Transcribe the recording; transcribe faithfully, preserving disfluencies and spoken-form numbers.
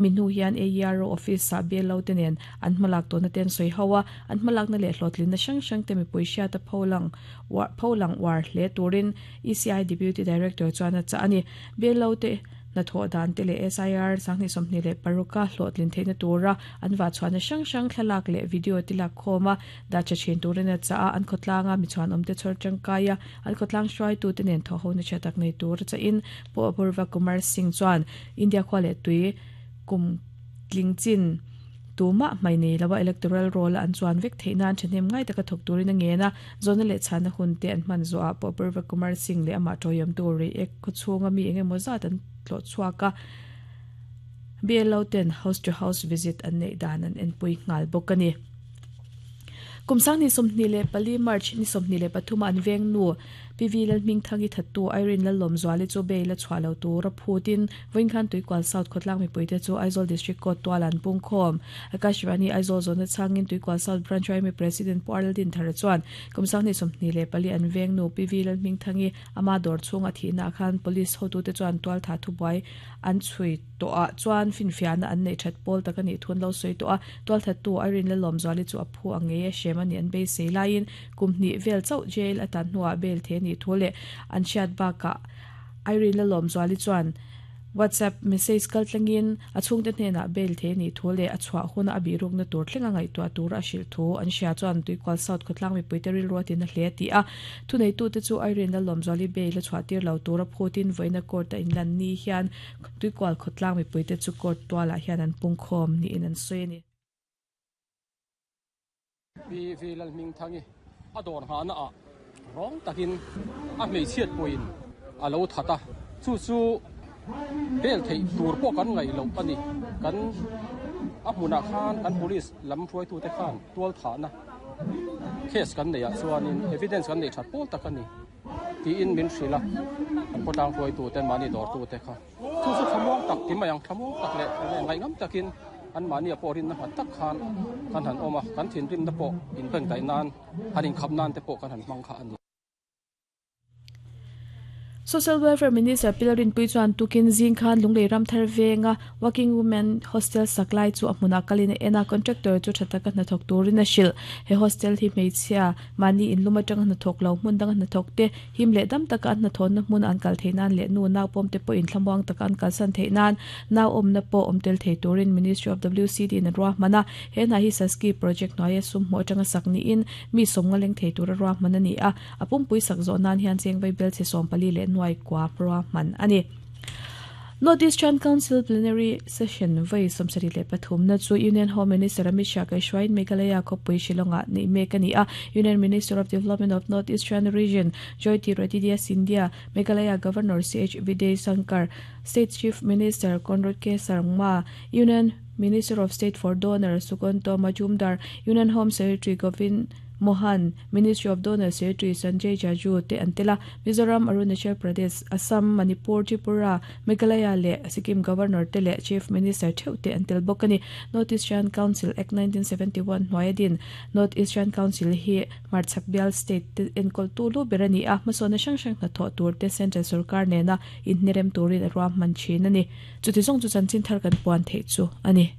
Minu hian A E R O office sa belo tenen an hmalak to na ten soi hawa an hmalak na le hlotlin na sang sang te mi poisha ta pholang war pholang war hle turin E C I Deputy Director chuan cha ani belo te na tho dan te le S I R sangni somni le paruka hlotlin theina tura an wa chuan sang sang thlalak le video tilak khoma da cha chin turin cha an khotlanga mi chuan omte chor changkaya an khotlang hruai tu te nen tho ho na chatak nei tur cha in po Apurva Kumar Singh chuan India khwale tui kum tlingchin tuma mai nei lawa electoral roll an chuan vek theina thnem ngai taka thok turin nge na zona le chana hun te an man zo a Apurva Kumar Singh le ama toyam tu ri ek khuchunga mi enge moza tan tlo chuaka B L O ten house to house visit an nei dan an en pui ngal bokani kumsang ni somni le pali March ni somni le pathuma an veng nu P V lal ming thangi thattu Irene lal lom zwali chu be la chwalo tu ra phutin voinkhan Tuikual South khotlang mi puite chu Aizawl District Court tualan pungkhom Akashvani Aizawl zone changin Tuikual South Branch mi President Paraldin thar chuan kumsang ni somni le pali an veng nu P V lal ming thangi ama dor chung a thina khan police hotu te chuan tual tha thu bai an chui to a chuan finfiana an nei that pol takani thun lo soi to a tual thattu Irene lal lom zwali chu aphu ange shemani an be sei lain kumni vel chau jail atan hnuah bel the ni thole an chiat ba ka Irene la lom zwali chuan WhatsApp message kal tlangin achung te hne na bel the ni thole achwa huna abi ruk na tur thlenga ngai tu tur a shil thu an sia chuan Tuikual South khotlang mi puiteril ruatin a hle ti a thunei tu te chu Irene la lom zwali bel a chwa tir lo tur a phutin voina court a inlan ni hian Tuikual khotlang mi puite chu court tuala hian an pungkhom ni in an soi ni P V lal ming thangi ador ha na a rong takin a mei chiat poin a lo thata chu chu bel thei tur po kan ngai lo ani kan a hmuna khan kan police lam hruai tu te khan tual tha na case kan nei a chuanin evidence kan nei that pol tak ani ti in min hrila kan potang hruai tu ten mani dor tu te kha chu chu thamong tak ti mayang thamong tak le ngai ngam takin an mani a porin na tak khan kan han oma kan thin rim na po in beng dai nan hanin khap nan te po kan han mang kha ani. Social Welfare Minister Pilarin Pui chuan tukin zing khan lunglei ram thar venga Working Women Hostel saklai chu ahmuna kalina ena contractor chu thataka na thok turin a shil he hostel hi meichhia mani in luma tang na thok lo hmun dang na thok te him le dam taka na thon na hmun an kal theinan le nu na pom te po in thlamwang taka an kal san theinan na om na po omtel thei turin Ministry of W C D na ruah mana he na hi saski project noya sum mo tanga sakni in mi somnga leng thei tur ruah mana ni a apum pui sak zo nan hian chengwei bel che som pali le nuai kwa pro man ani. North Eastern Council plenary session vai somsari le pathum na chu Union Home Minister Amit Shah kai shwain Meghalaya khopui Shillonga nei mek ani a Union Minister of Development of North Eastern Region Jyotiraditya Scindia, Meghalaya Governor C H Vijay Sankar, State Chief Minister Conrad K Sarma, Union Minister of State for Donor Sukanto Majumdar, Union Home Secretary Govind Mohan, Ministry of Donor Secretary Sanjay Jaju te antela, Mizoram, Arunachal Pradesh, Assam, Manipur, Tripura, Meghalaya le Sikkim Governor te le Chief Minister theu te antel bokani. North Eastern Council Act nineteen seventy-one hnuaiadin North Eastern Council hi Marchak Bial State te enkol tu lu berani a hmasawna hrang hrang hnathawh tur te Central Sarkar nena inhnerem turin a ruahman thin ani. Chuti zawng chu chanchin thar kan puan theih chu ani.